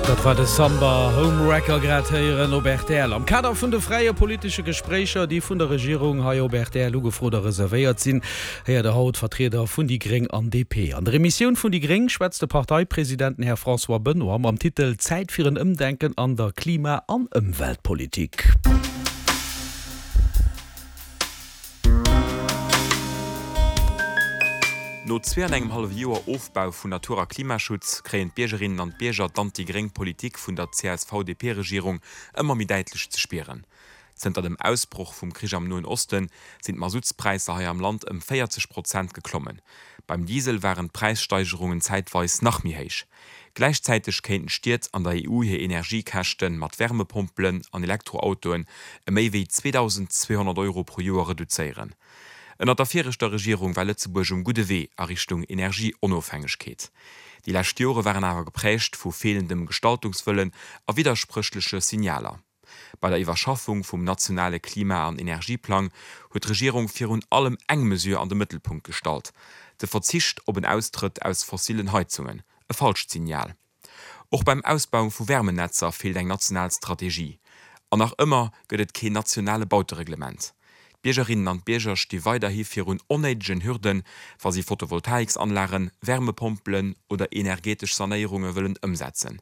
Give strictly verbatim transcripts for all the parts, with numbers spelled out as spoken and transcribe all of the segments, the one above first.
Dat war de Samba Homewrecker grad héieren op rtl. Am Kader vun de fräie politesche Gespréicher, déi vun der Regierung hei op rtl ugefrot a reservéiert sinn, héiert der haut Vertrieder vun déi Gréng an D P. An der Emissioun vun déi Gréng schwätzt de Parteipresident, den Här François Benoy, mam Titel Zäit fir en Ëmdenken an der Klima an Ëmweltpolitik. No zwee an engem hallwe Joer Ofbau vun Natur a Klimaschutz kréien d'Biergerinnen an d'Bierger d'anti-gréng Politik vun der C S V-D P-Regierung ëmmer méi däitlech ze spieren. Zënter dem Ausbroch vum Krich am Noen Osten sinn d'Masutspräisser hei am Land ëm véierzeg Prozent geklommen. Beim Diesel waren d'Präissteigerungen zäitweis nach méi héich. Gläichzäiteg kéinten d'Stied an der E U hir Energiekäschte mat Wärmepompelen an Elektroautoen ëm méi wéi zweedausendzweehonnert Euro pro Joer reduzéieren. Ënner der viregter Regierung war Lëtzebuerg um gudde Wee a Richtung Energieonofhängegkeet. Déi lescht Jore waren awer geprägt vu feelendem Gestaltungswëllen a widderspréchleche Signaler. Bei der Iwwerschaffung vum nationale Klima an Energieplang huet d'Regierung virun allem eng Mesure an de Mëttelpunkt gestallt, de Verzicht op en Austrëtt aus fossillen Heizungen. E falscht Signal. Och beim Ausbau vu Wärmenetzer feelt eng national Strategie. An nach ëmmer gëtt et keen nationale Bautereglement. D'Biergerinnen an d'Bierger sti weiderhi virun onnéidegen Hürden, wa si Photovoltaiksanlagen, Wärmepompelen oder energetesch Sanéierunge wëllen ëmsetzen.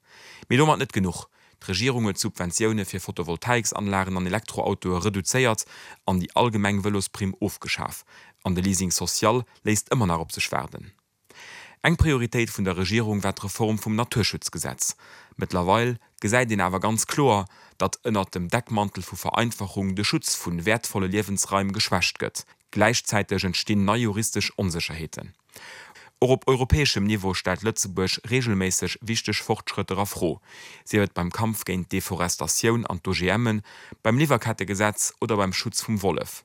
Mee domat net genuch, D'Regierung huet d'Subventioune fir Photovoltaiksanlagen an Elektroautoe reduzéiert an déi allgemeng Vëlosprimm ofgeschaf. An de Leasing social léisst ëmmer nach op sech waarden. Eng Prioritéit vun der Regierung war d'Reform vum Naturschutzgesetz. Mëttlerweil gesäit een awer ganz kloer, datt ënnert dem Deckmantel vu Vereinfachung de Schutz vu wäertvolle Liewensraim geschwächt gëtt. Gläichzäiteg entstinn nei juristesch Onsécherheeten. Och op europäeschem Niveau stellt Lëtzebuerg reegelméisseg wichteg Fortschrëtter a Fro, sief et beim Kampf géint d'Deforestatioun an d'O G Mën, beim Liwwerkettegesetz oder beim Schutz vum Wollef.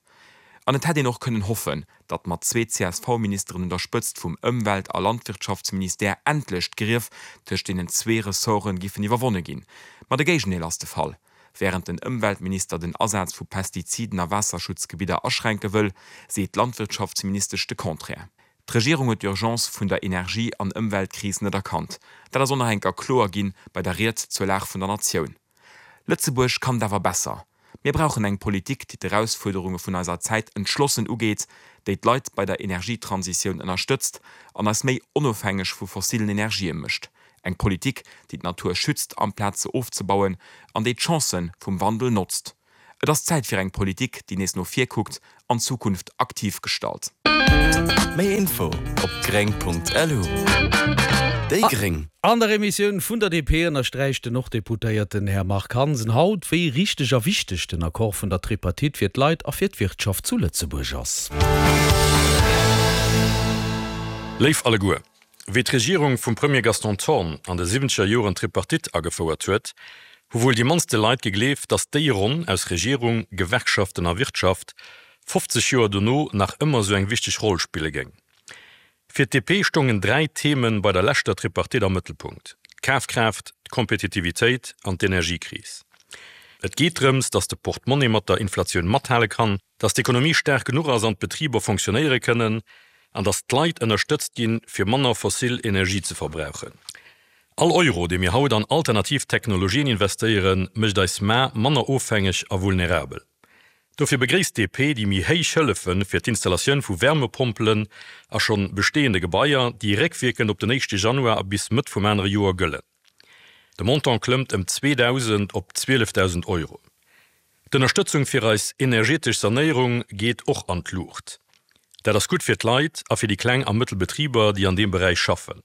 An et hätt een och kënnen hoffen, datt mat zwee C S V-Ministeren un der Spëtzt vum Ëmwelt a Landwirtschaftsministère endlech d'Grief tëscht deenen zwee Ressorte giffen iwwerwonne ginn. Ma de Géigendeel ass de Fall. Wärend den Ëmweltminister den Asaz vu Pestiziden a Waasserschutzgebidder aschränke wëll, seet d'Landwirtschaftsministesch de Contraire. D'Regierung huet d'Urgence vun der Energie an Ëmweltkris net erkannt. Dat ass och nach eng Kéier kloer ginn bei der Ried zur Lag vun der Natioun. Lëtzebuerg kann et awer besser. Mir brauchen eng Politik, déi d'Erausfuerderunge vun eiser Zäit entschlossen ugeet, déi d'Leit bei der Energietransitioun ënnerstëtzt an eis méi onofhängeg vu fossilen Energië mécht. Eng Politik, déi d'Natur schützt amplaz se ofzebauen an déi d'Chancë vum Wandel notzt. Et ass Zäit fir eng Politik, déi nees no vir kuckt an d'Zukunft aktiv gestalt. Méi Info op gréng Punkt L U. Déi Gréng. An der Emissioun vun der D P ënnersträicht den Norddeputéierten Här Marc Hansen haut, wéi richteg a wichteg den Accord vun der Tripartite fir d'Leit a fir d'Wirtschaft zu Lëtzebuerg ass. Léif alleguer, wéi d'Regierung vum Premier Gaston Thorn an de siwwenzeger Joren d'Tripartite agefouert huet, hu wuel déi mannste Leit gegleeft, datt déi Ronn aus Regierung, Gewerkschaften a Wirtschaft fofzeg Joer dono nach ëmmer sou eng wichteg Roll spille géing. Fir d'D P stoungen dräi Themen bei der leschter Tripartite am Mëttelpunkt, d'Kafkraaft, d'Kompetitivitéit an d'Energiekris. Et geet drëms, datt de Portmonni mat der Inflatioun mathale kann, datt d'Ekonomie staark genuch ass an d'Betriber fonctionnéiere kënnen, an datt d'Leit ënnerstëtzt ginn, fir manner fossil Energie ze verbrauchen. All Euro, dee mir haut an alternativ Technologien investéieren, mécht eis mar manner ofhängeg a vulnerabel. Dofir begréisst d'D P déi méi héich Hëllefe fir d'Installatioun vu Wärmepompelen a schonn besteeënde Gebaier, déi réckwierkend op den éischte Januar a bis Mëtt vum anere Joer gëllen. De Montant klëmmt ëm zweedausend op zwielefdausend Euro. D'Ënnerstëtzung fir eis energetesch Sanéierung geet och an d'Luucht. Dat ass gutt fir d'Leit a fir déi kleng a mëttel Betriber, déi an deem Beräich schaffen.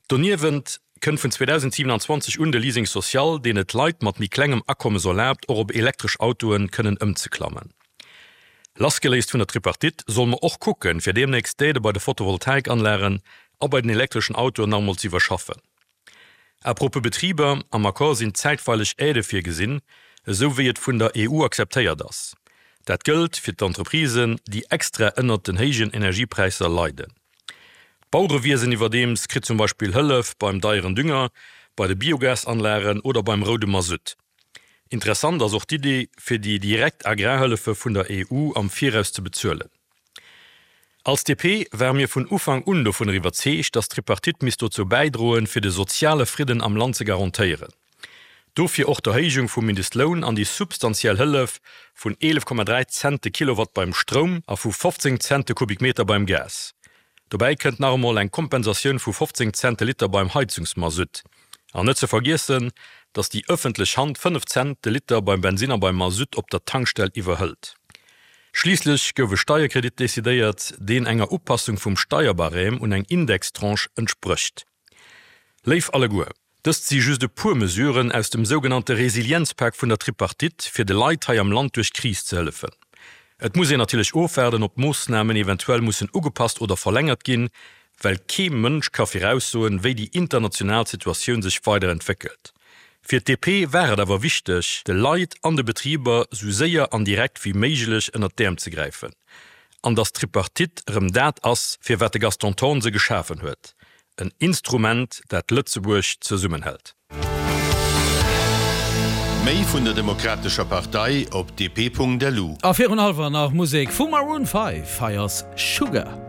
Doniewent kënnt vun zweedausendsiewenanzwanzeg un de Leasing social, deen et Leit mat méi klengem Akommes erlaabt, och op elektresch Autoen kënnen ëmzeklammen. Lassgeléist vun der Tripartite solle mer och kucken, fir deemnächst d'Aidë bei de Photovoltaikanlagen a bei den elektreschen Autoen nach emol ze iwwerschaffen. À propos Betriber, am Accord sinn zäitweileg Aidë virgesinn, esou wéi et vun der E U akzeptéiert ass. Dat gëllt fir d'Entreprisen, déi extra ënnert den héijen Energiepräisser leiden. D'Bauerewiesen iwwerdeems kritt zum Beispill Hëllef beim deieren Dünger, bei de Biogasanlagen oder beim roude Masutt. Interessant ass och d'Idee, fir déi direkt Agrarhëllefe vun der E U am Viraus ze bezuelen. Als D P ware mir vun Ufank un dovunner iwwerzeegt, datt d'Tripartite misst dozou bäidroen, fir de soziale Fridden am Land ze garantéieren. Dofir och d'Erhéijung vum Mindestloun an déi substantiell Hëllef vun eelef Komma dräi Cent de Kilowatt beim Stroum a vu fofzéng Cent de Kubikmeter beim Gas. Dobäi kënnt nach emol eng Kompensatioun vu fofzéng Cent de Liter beim Heizungsmasutt. An net ze vergiessen, datt déi ëffentlech Hand fënnef Cent de Liter beim Bensinn a beim Masutt op der Tankstell iwwerhëlt. Schliisslech gouf e Steierkredit decidéiert, deen enger Upassung vum Steierbarème un eng Indextranche entsprécht. Léif alleguer, dëst si just e puer Mesuren aus dem sougenannte Resilienzpak vun der Tripartite, fir de Leit hei am Land duerch d'Kris ze hëllefen. Et muss een natierlech ofwaarden, ob d'Moossnamen eventuell mussen ugepasst oder verlängert ginn, well kee Mënsch ka viraussoen, wéi déi international Situatioun sech weider entwéckelt. Fir d'DP war et awer wichteg, de Leit an de Betriber sou séier an direkt wéi méiglech ënnert d'Äerm ze gräifen. An datt d'Tripartite erëm dat ass, fir wat de Gaston Thorn se geschafen huet, en Instrument, dat Lëtzebuerg zesummenhält. Méi vun der Demokratescher Partei op D P Punkt L U. A virun hallwer nach Musek vu Maroon Five, hei ass Sugar.